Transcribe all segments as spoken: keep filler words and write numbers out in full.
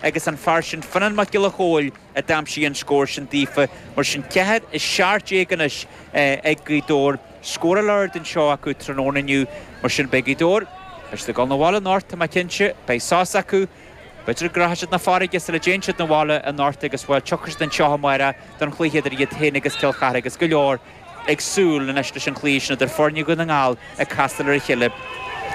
agus an fear sin Fionnán Mac Giolla Chóill a d'aimsigh an scór sin daofa mar sin ceathair a seacht déag anois ag Gaoth Dobhair scór ard anseo acu tráthnóna inniu mar sin beidh Gaoth Dobhair Beidh ag dul 'na bhaile anocht tá mé cinnte beidh sos acu B'fhéidir go rachaidh siad 'na farraige sula dtéann siad 'na bhaile anocht agus bhuel tiocfaidh siad anseo amárach don chluiche idir iad féin agus Cill Chartha agus go leor ag súil anois leis an chluiche sin idir foirne Dhún na nGall ag castáil ar a chéile.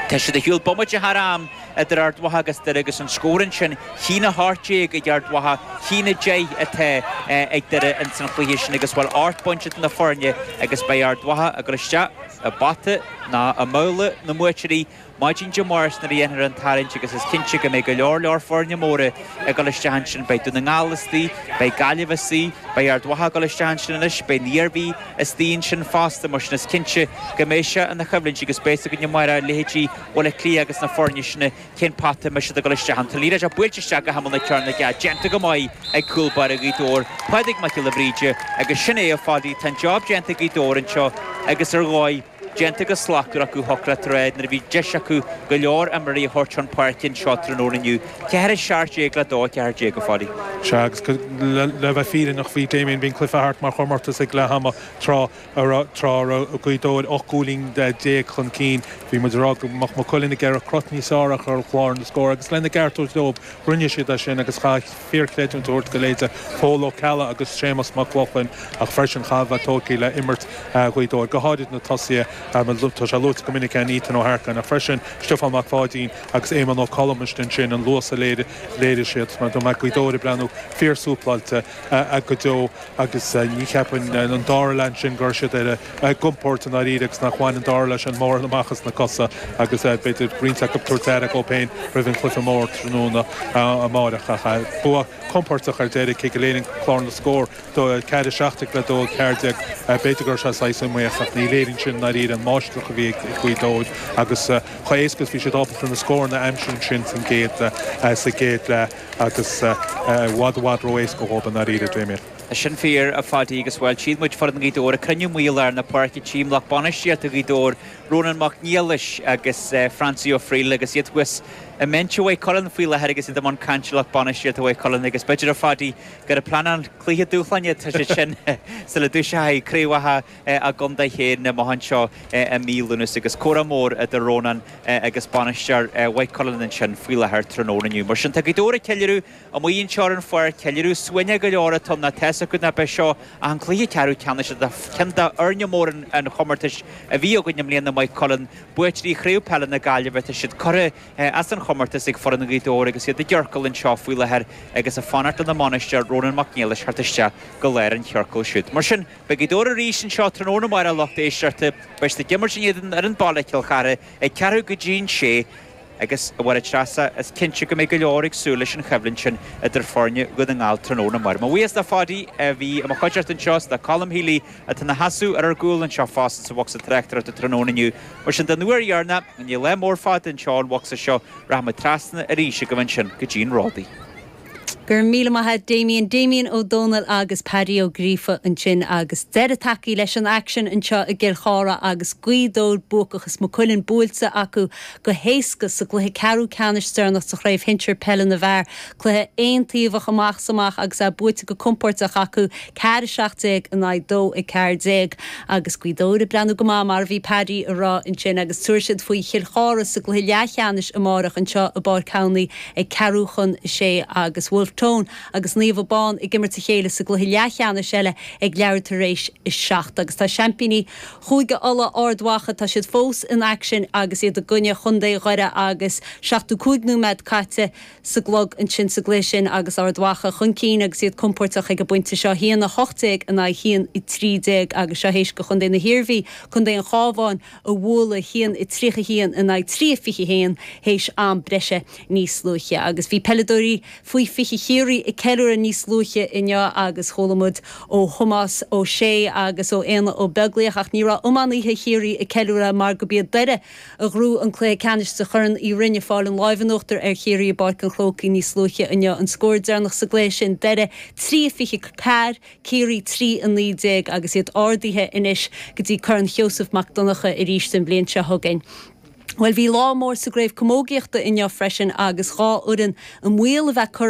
Tá siad ar shiúl bomaite thar am idir Ard Mhacha agus Doire agus an scór ansin haon a hocht déag ag Ard Mhacha haon a deich atá ag Doire ins an chluiche sin agus bhuel ocht bpointe idir na foirne agus beidh Ard Mhacha ag dul isteach i bpota ná i mbabhla na mbuaiteoirí Maidin Dé Máirt nuair a dhéanfar an tarraingt agus is cinnte go mbeidh go leor leor foirne móra ag dul isteach ansin beidh Dún na nGall istigh, beidh Gaillimh istigh, beidh Ard Mhacha ag dul isteach ansin anois, beidh an Iarmhí istigh ansin fosta mar sin is cinnte go mbeidh sé ina choimhlint agus beidh a fhios againn amárach leithéidí Bhaile Átha Cliath agus na foirne sin cén pota a mbeidh siad ag dul isteach ann. Tá liathróid buailte isteach go himeall na cearnóige déanta go maith ag cúl báire Ghaoth Dobhair, Pádraig Mac Giolla Bhríde agus sin é a Phadaí, tá an job déanta ag Gaoth Dobhair anseo agus ar dhóigh déanta go slachtmhar acu thiocfadh leat a rá nuair a bhí deis acu go leor imreoirí a thabhairt chun páirce anseo tráthnóna inniu. Ceathair a seacht déag le dó ceathair déag a Phadaí. Sea agus le bheith fírinneach bhí Damien bhí an cluiche thart mar chomórtas ag leath ama tráth a raibh tráth a raibh Gaoth Dobhair ocht gcúilín déag chun cinn. Bhí muid ag rá go mbeadh Maigh Cuilinn ag iarraidh crot níos fearr a chur ar chlár na scór agus lena gceart a thabhairt dóibh rinne siad é sin agus chaith fíorchreidiúint a thabhairt go leithéide Pól Ó Ceallaigh agus Séamus Mac Lochlainn ach freisin chaithfeá a bheith tógtha le imirt Ghaoth Dobhair go háirid na tosaithe tá sé luaite go minic an Ethan Ó hEarcáin ach freisin Stiofán Mac Pháidín agus Éamonn Ó Colm ansin an luas a léirigh siad mar tá Gaoth Dobhair ag breathnú fíorsúpláilte go deo agus ní cheapaim an dara leath sin gur siad ar a gcompord i ndáiríre agus nach bhain an dara leath sin mórán amach as na cosa agus b'fhéidir roinnt acu tabhairt aire dóibh féin roimh an chluiche mór tráthnóna amárach ach bua compordach ar deireadh cé go léiríonn clár na scór do ceathair seacht le dó ceathair déag b'fhéidir gur sé saghas iomaíoch ach ní léiríonn sin i ndáiríre an máistreacht a bhí ag Gaoth Dobhair agus chomh héasca bhí siad ábalta na scóranna a aimsiú sin san gcéad sa gcéad leath agus i bhfad i bhfad ró-éasca dhóibh i ndáiríre Damien. Sin fíor a Phadaí agus bhuel tchí muid foireann Ghaoth Dobhair ag cruinniú amuigh i lár na páirce tchím lucht bainistíochta Ghaoth Dobhair Rónán Mac Niallais agus Francie Ó Frighil agus iad thuas i mbinse Mhaigh Cuilinn faoi láthair agus iad i mbun cainte lucht bainistíochta Mhaigh Cuilinn agus b'fhéidir a Phadaí gur ag pleanáil cluiche dúshláin tá sé sin sula dtoiseoidh craobhacha a gcontae féin amach anseo i mí Lúnasa agus comhrá mór idir Rónán agus bainisteoir Mhaigh Cuilinn ansin faoi láthair tráthnóna inniu. Mar sin tá Gaoth Dobhair ag ceiliúradh amuigh anseo ar an pháirc ceiliúradh suaimhneach go leor atá na tá acu ná beidh seo ach an cluiche ceathrú ceannais ceann d'fhoirne mór an chomórtais a bhí againn i mbliana Maigh Cuilinn buaiteoirí chraobh peile na Gaillimhe tá siad curtha as an chomórtas ag foireann Ghaoth Dobhair agus iad i gciorcal anseo faoi láthair agus ag fanacht lena mbainisteoir Rónán Mac Niallais thart isteach go lár an chiorcail siúd. Mar sin beidh Gaoth Dobhair arís anseo tráthnóna amárach lucht éisteachta beidh siad ag imirt in éadan ar an baile Cill Chartha ag ceathrú go dtí an sé agus a Mháire Treasa is cinnte go mbeidh go leor ag súil leis an choimhlint sin idir foirne Dhún na nGall tráthnóna amárach. Mo bhuíochas le Phadaí a bhí i mo chuideachta anseo le Colm Healy atá ina sheasamh ar ár gcúl anseo fosta sa bhocsa tráchtaireachta tráthnóna inniu. Mar sin den uair dheireanach ní lá mór fada anseo an bhocsa seo rachaimid trasna arís go ansin go dtí an Ródaí. Gur míle maith Damien Damien Ó Dónaill agus Paddy Ó Gríofa ansin agus deireadh tagtha leis an aicsean anseo i gCill Chartha agus Gaoth Dobhair buacach is Maigh Cuilinn buailte acu go héasca sa gcluiche ceathrú ceannais deireanach sa chraobh shinsir peile na bhfear, cluiche aontaobhach amach is amach agus é buaite go compordach acu ceathair seacht déag in aghaidh dó a ceathair déag agus Gaoth Dobhair ag breathnú go maith mar a bhí Paddy ag rá ansin agus tabharfaidh siad faoi Chill Chartha sa gcluiche leathcheannais amárach anseo i bPáirc Thamhnaí ag ceathrú chun sé agus Wolfe Tone agus Naomh Abán ag imirt a chéile sa gcluiche leathcheannais eile ag leathuair tar éis a seacht agus tá seaimpíní Chúige Uladh Ard Mhacha tá siad fós in aicsean agus iad i gcoinne Chontae Dhoire agus seachtó cúig nóiméad caite sa gclog ansin sa gcluiche sin agus Ard Mhacha chun cinn agus iad compordach ag an bpointe seo haon a hocht déag in aghaidh haon a trí déag agus seo théis do Chontae na hIarmhí Contae an Chabháin a bhualadh haon a tríocha haon in aghaidh trí fiche haon théis am breise níos luaithe agus bhí peileadóirí faoi fiche Chiarraí ag ceiliúradh níos luaithe inniu agus chuala muid ó Thomas Ó Sé agus ó Éanna Ó Beaglaoich ach ní raibh iománaithe Chiarraí ag ceiliúradh mar gurb iad Doire a ghnóthaigh an cluiche ceannais de Chorn Uí Rinn ag fáil an lámh in uachtar ar Chiarraí i bPáirc an Chrócaigh níos luaithe inniu an scór deireanach sa gcluiche sin Doire trí fiche ceathair Ciarraí trí a naoi déag agus iad ardaithe anois go dtí Corn Sheosamh Mac Donncha arís an bhliain seo chugainn. Well bhí lá mór sa gcraobh camógaíochta inniu freisin agus dhá fhoireann i mbaol a bheith curtha